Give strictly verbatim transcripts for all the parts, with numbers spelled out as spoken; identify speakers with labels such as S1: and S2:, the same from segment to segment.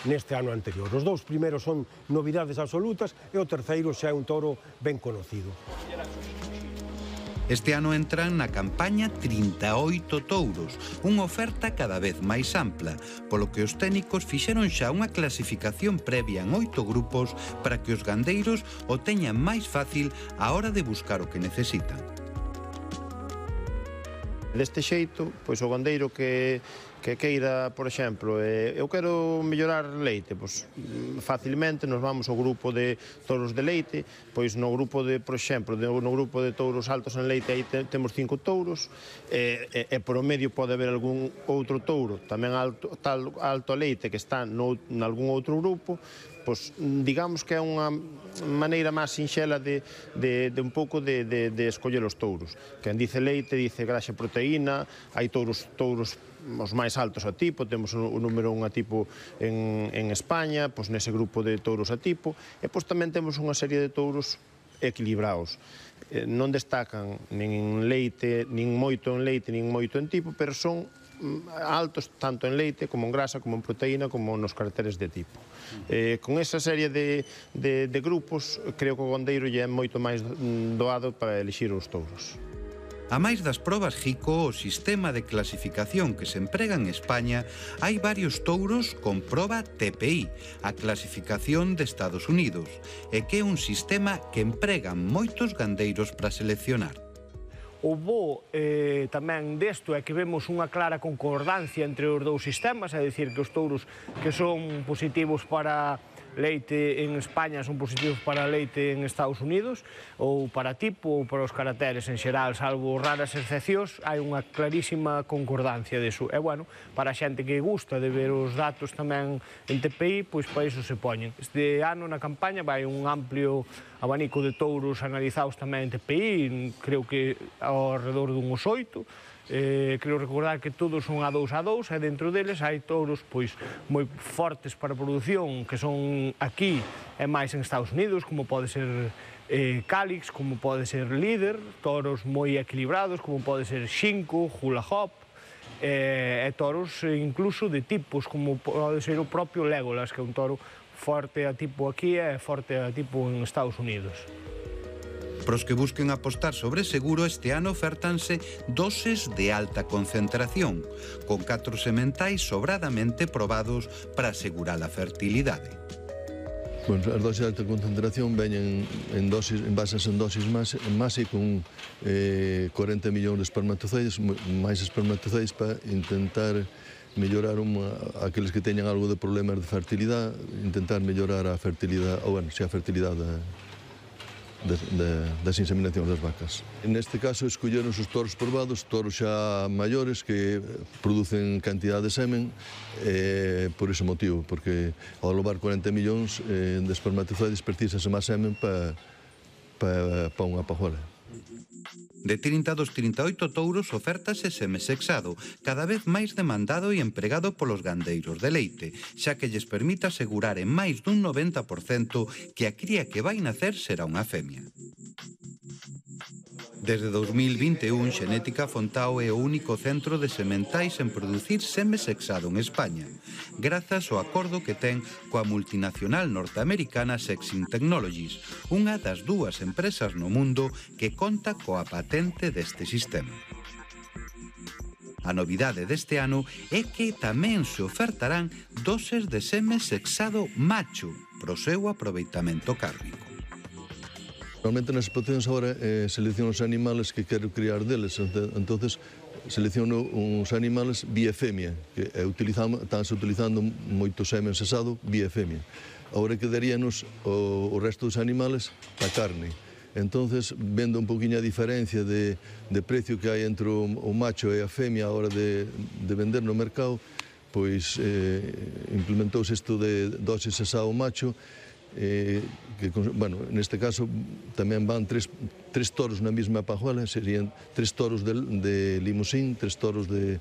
S1: neste ano anterior. Os dous primeiros son novidades absolutas e o terceiro xa é un touro ben conocido.
S2: Este ano entran na campaña trinta e oito touros, unha oferta cada vez máis ampla, polo que os técnicos fixeron xa unha clasificación previa en oito grupos para que os gandeiros o teñan máis fácil á hora de buscar o que necesitan.
S3: Deste xeito, pois o gandeiro que, que queira, por exemplo, eh, eu quero mellorar leite, pois facilmente nos vamos ao grupo de touros de leite, pois no grupo de, por exemplo, de, no grupo de touros altos en leite aí te, temos cinco touros, e, e, e por o medio pode haber algún outro touro tamén alto, tal, alto a leite que está no, en algún outro grupo. Pois digamos que é unha maneira máis sinxela de, de, de un pouco de, de, de escoller os touros. Quen dice leite, dice graxa e proteína, hai touros, touros os máis altos a tipo, temos o número un a tipo en, en España, pois nese grupo de touros a tipo, e pois tamén temos unha serie de touros equilibrados. Eh, non destacan nin leite, nin moito en leite, nin moito en tipo, pero son altos tanto en leite como en grasa, como en proteína, como nos caracteres de tipo. Eh, con esa serie de, de, de grupos, creo que o gandeiro lle é moito máis doado para elixir os touros.
S2: A máis das probas J I C O, o sistema de clasificación que se emprega en España, hai varios touros con proba T P I, a clasificación de Estados Unidos, e que é un sistema que empregan moitos gandeiros para seleccionar.
S4: O bo eh, tamén desto é que vemos unha clara concordancia entre os dous sistemas, é dicir, que os touros que son positivos para leite en España son positivos para leite en Estados Unidos, ou para tipo, ou para os caracteres en xeral, salvo raras excepcións, hai unha clarísima concordancia deso. E, bueno, para a xente que gusta de ver os datos tamén en T P I, pois para iso se poñen. Este ano na campaña vai un amplio abanico de touros analizados tamén en T P I, creo que ao redor dunhos oito. Eh, creo recordar que todos son a dous a dous e dentro deles hai touros pois moi fortes para a produción que son aquí e máis en Estados Unidos, como pode ser eh, Calix, como pode ser Líder, toros moi equilibrados como pode ser Xinco, Hula Hop eh, e toros incluso de tipos como pode ser o propio Legolas, que é un toro forte a tipo aquí e forte a tipo en Estados Unidos.
S2: Para os que busquen apostar sobre seguro, este ano ofertanse doses de alta concentración, con catro sementais sobradamente probados para asegurar a fertilidade.
S5: Bueno, as doses de alta concentración veñen en dosis, en bases en dosis mase con eh, cuarenta millóns de espermatozoides, máis espermatozoides para intentar mellorar uma, aqueles que teñan algo de problemas de fertilidade, intentar mellorar a fertilidade, ou bueno, se a fertilidade De, de, das inseminacións das vacas. Neste caso, escolleron os toros probados, toros xa maiores que producen cantidade de semen eh, por ese motivo, porque ao levar cuarenta millóns eh, de espermatozoides precisase máis semen para pa, pa unha pajuela.
S2: De trinta dos trinta e oito touros ofértase semesexado, cada vez máis demandado e empregado polos gandeiros de leite, xa que lles permite asegurar en máis dun noventa por cento que a cría que vai nacer será unha femia. Desde dous mil vinte e un, Xenética Fontao é o único centro de sementais en producir semesexado en España, grazas ao acordo que ten coa multinacional norteamericana Sexing Technologies, unha das dúas empresas no mundo que conta coa patente deste sistema. A novidade deste ano é que tamén se ofertarán doses de semesexado macho pro seu aproveitamento cárnico.
S5: Normalmente nas explotacións agora eh, selecciono os animales que quero criar deles, entonces selecciono uns animales vía femia, que estánse utilizando moito semen sexado vía femia. Agora quedaríanos o, o resto dos animales para carne. Entonces, vendo un poquinho a diferencia de, de precio que hai entre o, o macho e a femia a hora de, de vender no mercado, pois eh, implementouse isto de dose sexado macho, Eh, que, bueno, neste caso tamén van tres, tres toros na mesma pajuela, serían tres toros de, de limusín, tres toros de,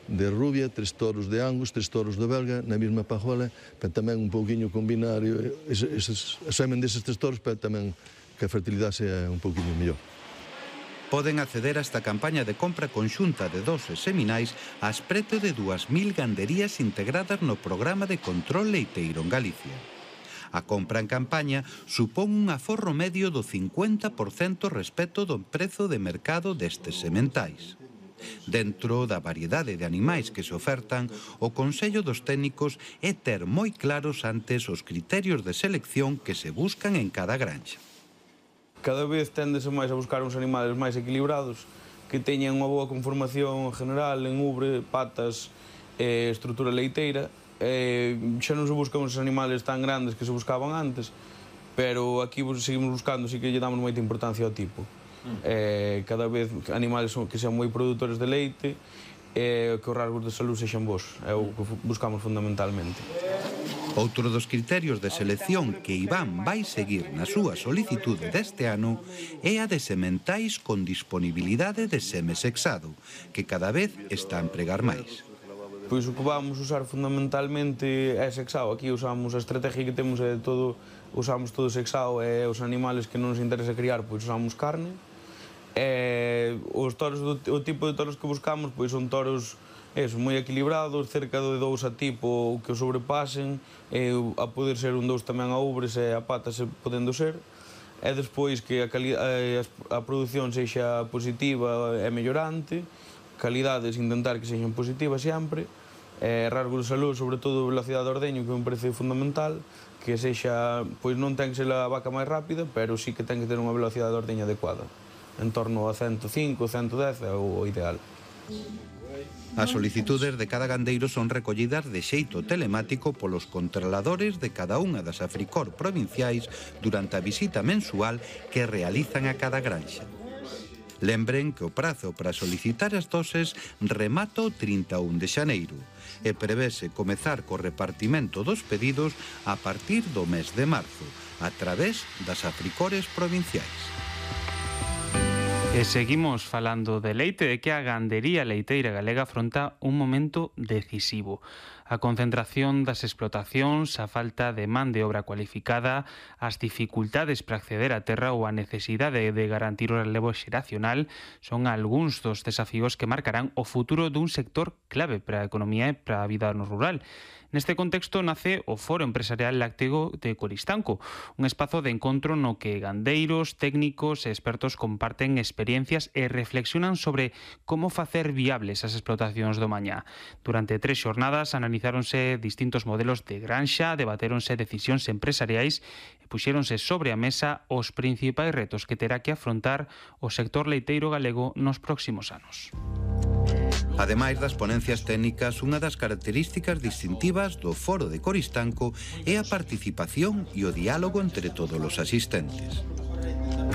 S5: de rubia, tres toros de angus, tres toros de belga na mesma pajuela, pero tamén un pouquiño combinar ese semen deses tres toros para tamén que a fertilidade sea un pouquiño mellor.
S2: poden acceder a esta campaña de compra conxunta de doses seminais ás preto de dúas mil ganderías integradas no programa de control leiteiro en Galicia. A compra en campaña supón un aforro medio do cincuenta por cento respecto do prezo de mercado destes sementais. Dentro da variedade de animais que se ofertan, o Consello dos Técnicos é ter moi claros antes os criterios de selección que se buscan en cada granxa.
S6: Cada vez téndese máis a buscar uns animales máis equilibrados, que teñan unha boa conformación general en ubre, patas e estrutura leiteira. E xa non se buscan uns animales tan grandes que se buscaban antes, pero aquí seguimos buscando, sí que lle damos moita importancia ao tipo. Eh, cada vez animales que sean moi produtores de leite e que os rasgos de salud sexan bons, é o que buscamos fundamentalmente.
S2: Outro dos criterios de selección que Iván vai seguir na súa solicitude deste ano é a de sementais con disponibilidade de seme sexado, que cada vez está a empregar máis.
S6: Pois o que vamos usar fundamentalmente é sexado. Aquí usamos a estrategia que temos é todo, usamos todo sexado, e os animales que non nos interesa criar, pois usamos carne. E os toros, o tipo de toros que buscamos, pois son toros eso, moi equilibrados, cerca de dous a tipo que o sobrepasen, e a poder ser un dous tamén a ubres e a patas podendo ser. E despois que a, a, a produción sexa positiva e mellorante, calidades intentar que sexan positivas sempre, e rasgos de salud, sobre todo velocidade de ordeño, que me parece fundamental, que sexa, pois non ten que ser a vaca máis rápida, pero sí que ten que ter unha velocidade de ordeño adecuada, en torno a ciento cinco, ciento dez é o ideal.
S2: As solicitudes de cada gandeiro son recollidas de xeito telemático polos controladores de cada unha das Africor provinciais durante a visita mensual que realizan a cada granxa. Lembren que o prazo para solicitar as doses remata o trinta e un de xaneiro e prevese comezar co repartimento dos pedidos a partir do mes de marzo, a través das Africores provinciais.
S7: E seguimos falando de leite, de que a gandería leiteira galega afronta un momento decisivo. A concentración das explotacións, a falta de man de obra cualificada, as dificultades para acceder á terra ou a necesidade de garantir o relevo xeracional son algúns dos desafíos que marcarán o futuro dun sector clave para a economía e para a vida no rural. Neste contexto nace o Foro Empresarial Lácteo de Coristanco, un espazo de encontro no que gandeiros, técnicos e expertos comparten experiencias e reflexionan sobre como facer viables as explotacións do mañá. Durante tres xornadas analizáronse distintos modelos de granxa, debatéronse decisións empresariais e puxéronse sobre a mesa os principais retos que terá que afrontar o sector leiteiro galego nos próximos anos.
S2: Ademais das ponencias técnicas, unha das características distintivas do Foro de Coristanco é a participación e o diálogo entre todos os asistentes.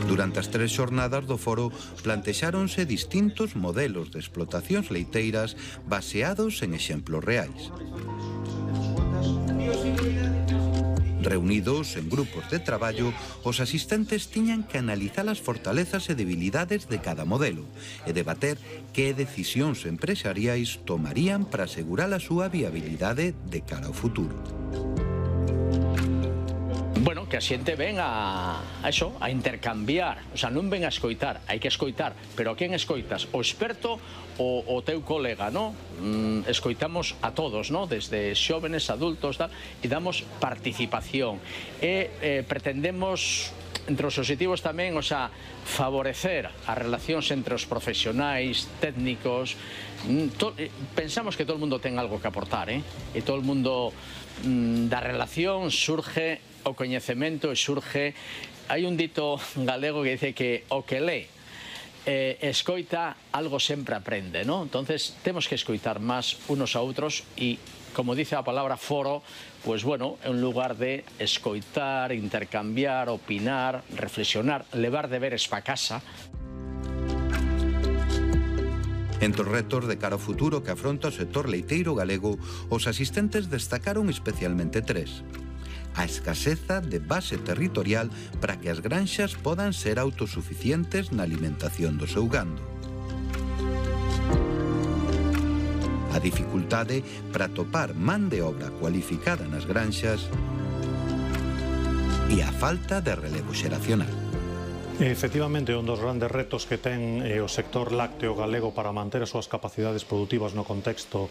S2: Durante as tres xornadas do foro plantexáronse distintos modelos de explotacións leiteiras baseados en exemplos reais. Reunidos en grupos de traballo, os asistentes tiñan que analizar as fortalezas e debilidades de cada modelo e debater que decisións empresariais tomarían para asegurar a súa viabilidade de cara ao futuro.
S8: Bueno, que a xente ven a, a eso, a intercambiar, o sea, non ven a escoitar, hai que escoitar, pero a quen escoitas? O experto o o teu colega, no? Mm, escoitamos a todos, no? Desde xóvenes, adultos, tal, e damos participación. E eh, pretendemos, entre os objetivos tamén, o sea, favorecer as relacións entre os profesionais, técnicos. Mm, to, eh, pensamos que todo o mundo ten algo que aportar, eh? E todo o mundo mm, da relación surge o coñecemento e surge. Hai un dito galego que dice que o que lee eh, escoita algo sempre aprende, ¿no? Entonces temos que escoitar máis unos a outros e, como dice a palabra foro, pues bueno, é un lugar de escoitar, intercambiar, opinar, reflexionar, levar deberes pa casa.
S2: Entre os retos de cara ao futuro que afronta o sector leiteiro galego, os asistentes destacaron especialmente tres. A escaseza de base territorial para que as granxas podan ser autosuficientes na alimentación do seu gando. A dificultade para topar man de obra cualificada nas granxas e a falta de relevo xeracional.
S9: Efectivamente, un dos grandes retos que ten o sector lácteo galego para manter as súas capacidades produtivas no contexto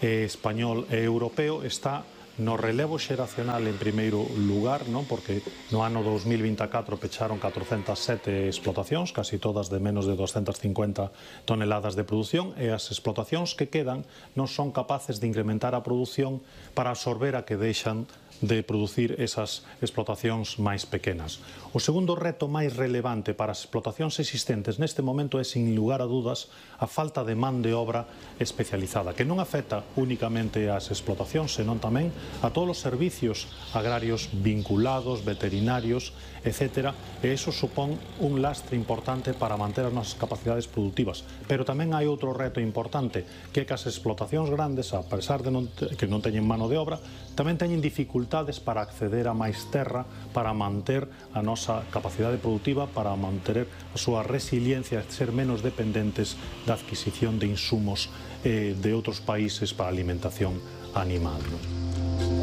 S9: español e europeo está no relevo xeracional en primeiro lugar, non? Porque no ano dos mil vinte e catro pecharon catrocentas sete explotacións, casi todas de menos de doscientas cincuenta toneladas de produción, e as explotacións que quedan non son capaces de incrementar a produción para absorber a que deixan de producir esas explotacións máis pequenas. O segundo reto máis relevante para as explotacións existentes neste momento é, sin lugar a dudas, a falta de man de obra especializada, que non afecta únicamente ás explotacións, senón tamén a todos os servicios agrarios vinculados, veterinarios, etcétera, e iso supón un lastre importante para manter as nosas capacidades productivas. Pero tamén hai outro reto importante, que é que as explotacións grandes, a pesar de non, que non teñen mano de obra, tamén teñen dificultades para acceder a máis terra, para manter a nosa capacidade productiva, para manter a súa resiliencia, ser menos dependentes da adquisición de insumos eh, de outros países para a alimentación animal.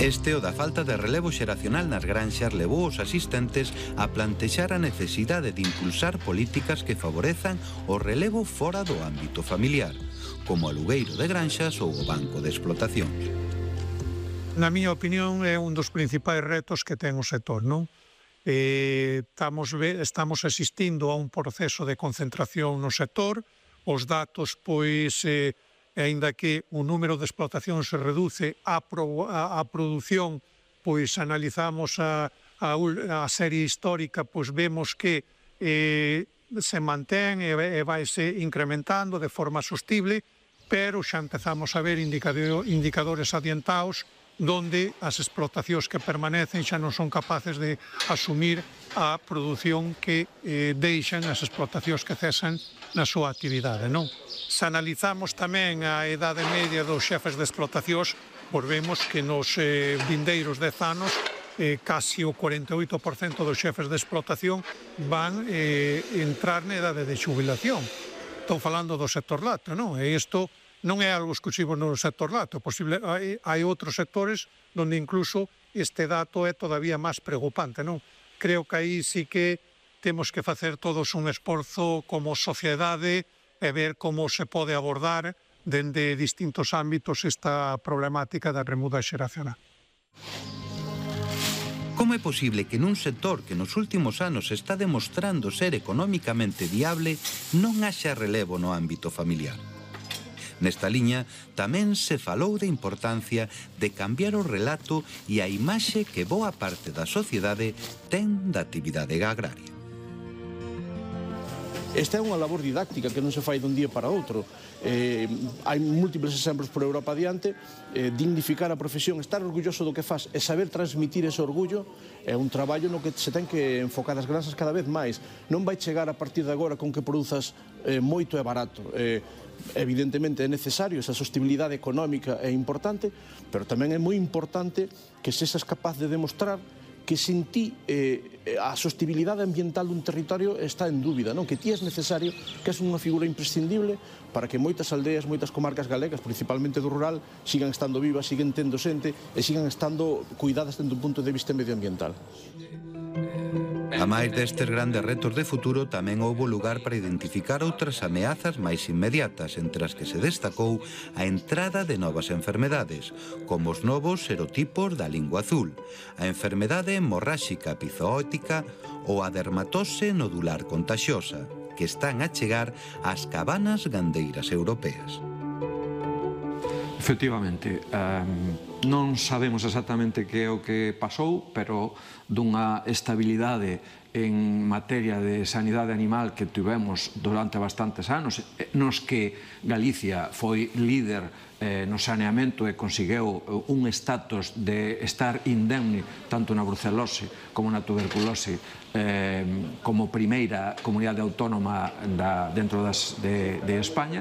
S2: Este o da falta de relevo xeracional nas granxas levou os asistentes a plantexar a necesidade de impulsar políticas que favorezan o relevo fora do ámbito familiar, como o alugueiro de granxas ou o banco de explotacións.
S10: Na miña opinión, é un dos principais retos que ten o sector, non? Eh, estamos, estamos asistindo a un proceso de concentración no sector, os datos, pois, eh, aínda que o número de explotacións se reduce, a, pro, a, a produción, pois analizamos a, a, a serie histórica, pois vemos que eh, se mantén e, e vaise incrementando de forma sostible, pero xa empezamos a ver indicador, indicadores adiantados donde as explotacións que permanecen xa non son capaces de asumir a produción que eh, deixan as explotacións que cesan na súa actividade, non? Se analizamos tamén a idade media dos xefes de explotacións, pois vemos que nos eh, vindeiros dez anos eh, casi o cuarenta e oito por cento dos xefes de explotación van eh, entrar na idade de xubilación. Estou falando do sector lácteo, non? E isto non é algo exclusivo no sector lácteo, posible, hai, hai outros sectores onde incluso este dato é todavía máis preocupante, non? Creo que aí sí que temos que facer todos un esforzo como sociedade e ver como se pode abordar dende distintos ámbitos esta problemática da remuda xeracional.
S2: Como é posible que nun sector que nos últimos anos está demostrando ser económicamente viable non haxa relevo no ámbito familiar? Nesta liña tamén se falou da importancia de cambiar o relato e a imaxe que boa parte da sociedade ten da actividade agraria.
S11: Esta é unha labor didáctica que non se fai dun día para outro. Eh, hai múltiples exemplos por Europa adiante. Eh, dignificar a profesión, estar orgulloso do que faz e saber transmitir ese orgullo é un traballo no que se ten que enfocar as granxas cada vez máis. Non vai chegar a partir de agora con que produzas eh, moito e barato. Eh, evidentemente é necesario, esa sostenibilidade económica é importante, pero tamén é moi importante que se sexas capaz de demostrar que sin ti eh, a sostenibilidade ambiental dun territorio está en dúbida, non? Que ti és necesario, que és unha figura imprescindible para que moitas aldeas, moitas comarcas galegas, principalmente do rural, sigan estando vivas, siguen tendo xente e sigan estando cuidadas dende un punto de vista medioambiental.
S2: A máis destes grandes retos de futuro, tamén houbo lugar para identificar outras ameazas máis inmediatas, entre as que se destacou a entrada de novas enfermedades, como os novos serotipos da lingua azul, a enfermedade hemorráxica epizootica ou a dermatose nodular contagiosa, que están a chegar ás cabanas gandeiras europeas.
S12: Efectivamente, eh, non sabemos exactamente que é o que pasou, pero dunha estabilidade en materia de sanidade animal que tivemos durante bastantes anos, nos que Galicia foi líder eh, no saneamento e conseguiu un estatus de estar indemne tanto na brucelose como na tuberculose eh, como primeira comunidade autónoma da, dentro das, de, de España.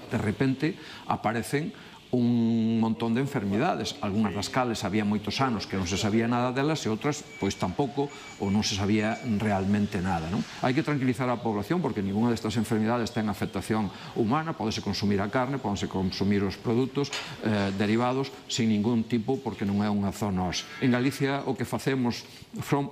S12: De repente aparecen un montón de enfermidades, algunhas das cales había moitos anos que non se sabía nada delas e outras pois tampouco ou non se sabía realmente nada, non? Hai que tranquilizar a población porque ninguna destas enfermidades ten afectación humana, pódese consumir a carne, pódense consumir os produtos eh, derivados sin ningún tipo porque non é unha zoonose. En Galicia o que facemos,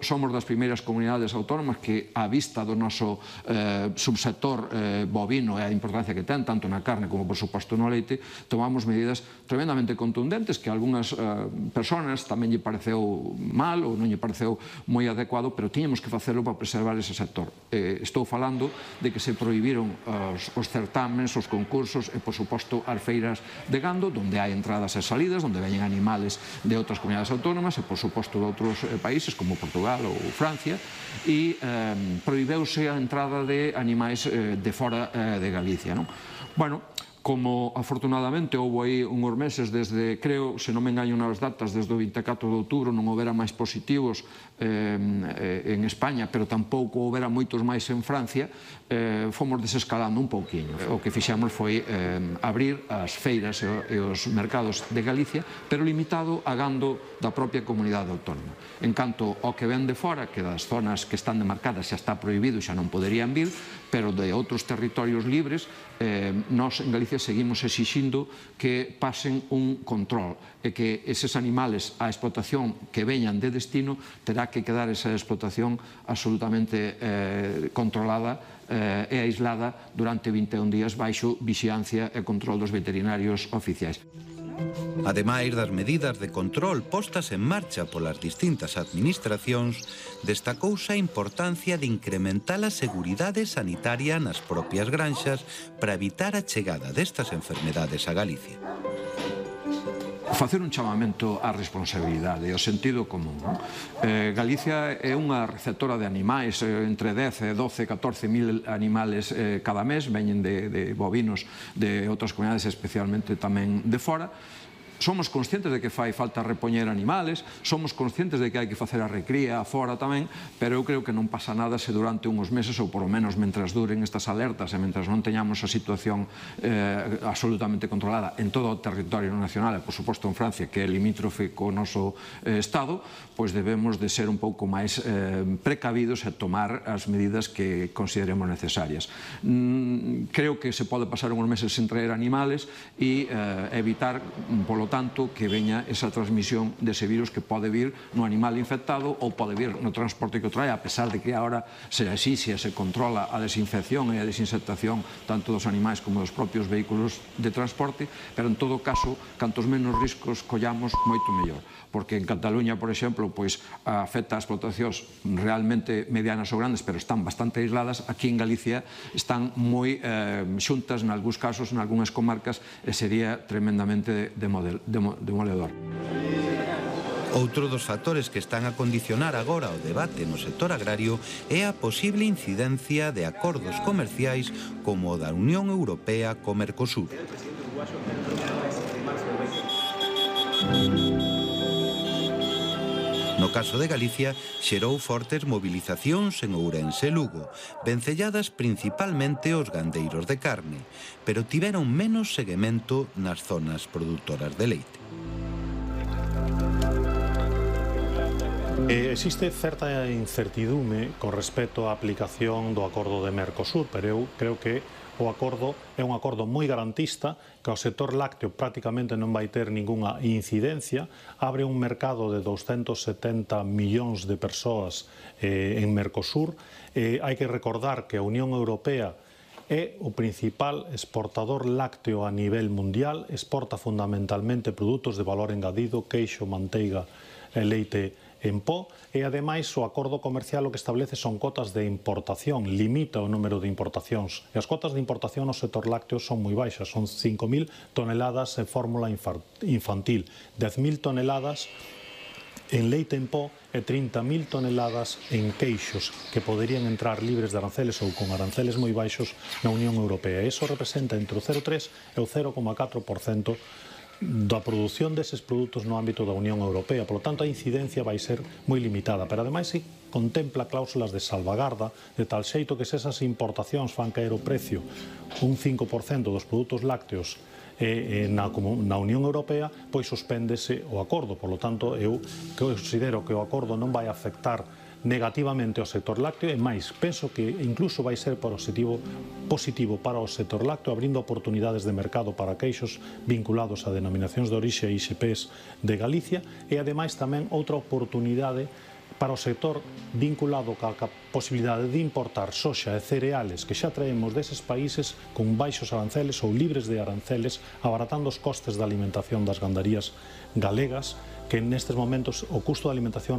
S12: somos das primeiras comunidades autónomas que a vista do noso eh, subsector eh, bovino e a importancia que ten tanto na carne como por suposto no leite, tomamos medidas tremendamente contundentes que a algunhas eh, personas tamén lle pareceu mal ou non lle pareceu moi adecuado, pero tiñamos que facelo para preservar ese sector. Eh, estou falando de que se prohibiron os, os certámenes, os concursos e, por suposto, as feiras de gando, onde hai entradas e salidas, onde veñen animales de outras comunidades autónomas e, por suposto, de outros eh, países como Portugal ou Francia, e eh, prohibeuse a entrada de animais eh, de fora eh, de Galicia, non? Bueno, como afortunadamente houve aí unhos meses desde, creo, se non me engaño nas datas, desde o vinte e catro de outubro non houbera máis positivos eh, en España, pero tampouco houbera moitos máis en Francia, eh, fomos desescalando un pouquiño. O que fixemos foi eh, abrir as feiras e os mercados de Galicia, pero limitado a gando da propia comunidade autónoma. En canto ao que ven de fora, que das zonas que están demarcadas xa está prohibido e xa non poderían vir, pero de outros territorios libres, eh, nós en Galicia seguimos exixindo que pasen un control e que eses animales a explotación que veñan de destino terá que quedar esa explotación absolutamente eh, controlada eh, e aislada durante vinte e un días baixo vixiancia e control dos veterinarios oficiais.
S2: Ademais das medidas de control postas en marcha polas distintas administracións, destacouse a importancia de incrementar a seguridade sanitaria nas propias granxas para evitar a chegada destas enfermedades a Galicia.
S12: Facer un chamamento á responsabilidade e ao sentido común. Eh, Galicia é unha receptora de animais, eh, entre dez, doce, catorce mil animales eh, cada mes, veñen de, de bovinos de outras comunidades, especialmente tamén de fora. Somos conscientes de que fai falta repoñer animales, somos conscientes de que hai que facer a recría fora tamén, pero eu creo que non pasa nada se durante unhos meses, ou por lo menos mentras duren estas alertas e mentras non teñamos a situación eh, absolutamente controlada en todo o territorio nacional e, por suposto, en Francia, que é limítrofe co noso eh, Estado, pois debemos de ser un pouco máis eh, precavidos e tomar as medidas que consideremos necesarias. Mm, creo que se pode pasar unhos meses sen traer animales e eh, evitar, polo tanto, que veña esa transmisión dese virus que pode vir no animal infectado ou pode vir no transporte que o trae, a pesar de que agora se exixe e se controla a desinfección e a desinsectación tanto dos animais como dos propios vehículos de transporte, pero en todo caso, cantos menos riscos collamos, moito mellor. Porque en Cataluña, por exemplo, pois afecta a explotacións realmente medianas ou grandes, pero están bastante aisladas. Aquí en Galicia están moi eh, xuntas, en algúns casos, en algunhas comarcas, e sería tremendamente demoledor.
S2: Outro dos factores que están a condicionar agora o debate no sector agrario é a posible incidencia de acordos comerciais como o da Unión Europea co Mercosur. No caso de Galicia, xerou fortes movilizacións en Ourense e Lugo, vencelladas principalmente os gandeiros de carne, pero tiveron menos seguimento nas zonas produtoras de leite.
S9: Eh, existe certa incertidume con respecto á aplicación do acordo de Mercosur, pero eu creo que o acordo é un acordo moi garantista, que o sector lácteo prácticamente non vai ter ningunha incidencia, abre un mercado de doscientos setenta millóns de persoas eh, en Mercosur. Eh, hai que recordar que a Unión Europea é o principal exportador lácteo a nivel mundial, exporta fundamentalmente produtos de valor engadido, queixo, manteiga e leite en pó, e ademais o acordo comercial o que establece son cotas de importación, limita o número de importacións, e as cotas de importación no sector lácteo son moi baixas, son cinco mil toneladas en fórmula infantil, dez mil toneladas en leite en pó e trinta mil toneladas en queixos que poderían entrar libres de aranceles ou con aranceles moi baixos na Unión Europea. Iso representa entre o cero coma tres e o cero coma catro por cento da produción deses produtos no ámbito da Unión Europea. Por lo tanto, a incidencia vai ser moi limitada, pero ademais se contempla cláusulas de salvagarda de tal xeito que se esas importacións fan caer o precio un cinco por cento dos produtos lácteos e na Unión Europea pois suspéndese o acordo. Por lo tanto, eu considero que o acordo non vai afectar negativamente ao sector lácteo e máis, penso que incluso vai ser positivo, positivo para o sector lácteo, abrindo oportunidades de mercado para queixos vinculados a denominacións de orixe e I X Ps de Galicia e ademais tamén outra oportunidade para o sector vinculado ca posibilidade de importar soxa e cereales que xa traemos deses países con baixos aranceles ou libres de aranceles, abaratando os costes da alimentación das gandarías galegas, que nestes momentos o custo da alimentación